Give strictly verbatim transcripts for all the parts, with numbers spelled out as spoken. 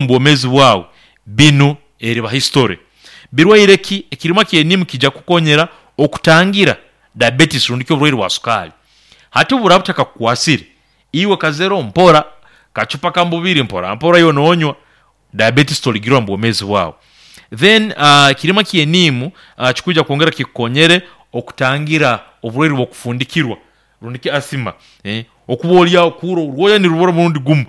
Omu bwomeezi bwawe binu eriba history. Birwaire ki? Ekirimwa ky'eniimu kiija kukukonyera okutangira diabetes rundi ki oburwaire bwa sukaali. Hati obu buraaba butakakukwasire, iwe kazero mpora, kacupa kamu bubiri mpora mpora iwe noonywa, diabetes toligirwara omu bwomeezi bwawe. Then ekirimwa ky'eniimu kikwija kwongera kikukonyere okutangira oburwaire bw'okufundikirwa rundi ki asthma okuba oli aho okuhuura orwoya nirubura omurundi gumu,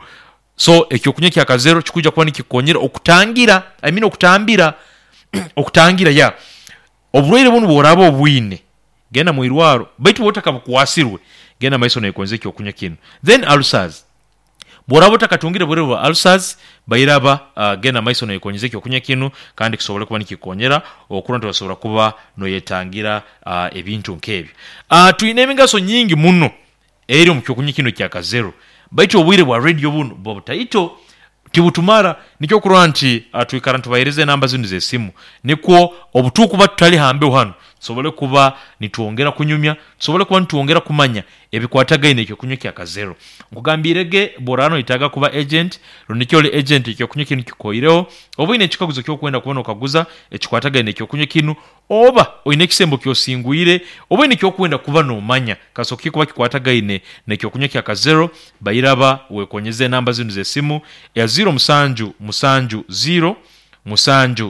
so ekyokunywa kya kazero kikwija kuba nikikukonyera okutangira I mean okutambira okutangira yeah. Oburwaire bunu obu oraaba obwine, genda mwirwaro baitu bwoba otakabukwasirwe, genda mumaiso noyekonyeza ekyokunywa kinu. Then ulcers, bworaba otakatungire burwaire bwa ulcers, bairaba genda mumaiso noyekonyeza ekyokunywa kinu kandi kisobole kuba nikikukonyera okurora nti osobola kuba noyetangira ebintu nk'ebyo. Twine emigaso nyingi muno eri omu kyokunywa kinu ekya kazero baitu obwire bwa radio bunu buba butaito tibutumara nikyo okurora nti twikara nitubahereza enamba zinu ez'esimu nikwo obutukuba tutali ha mbeho hanu tusobole kuba nitwongera kunyumya, tusobole kuba nitwongera kumanya ebikwatagaine n'ekyokunywa kya kazero. Nkugambiire ge bworaba noyetaaga kuba agent rundi ki oli agent ekyokunywa kinu kikuhoireho, oba oine ekikaguzo ky'okwenda kuba nokaguza ekikwatagaine n'ekyokunywa kinu, oba oine ekisembo ky'osingwire, oba oine ekyokwenda kuba nomanya kasooke kikuba kikwatagaine n'ekyokunywa kya kazero, bairaba weekonyeze enamba zinu ez'esimu eya ziiro musanju musanju ziiro musanju.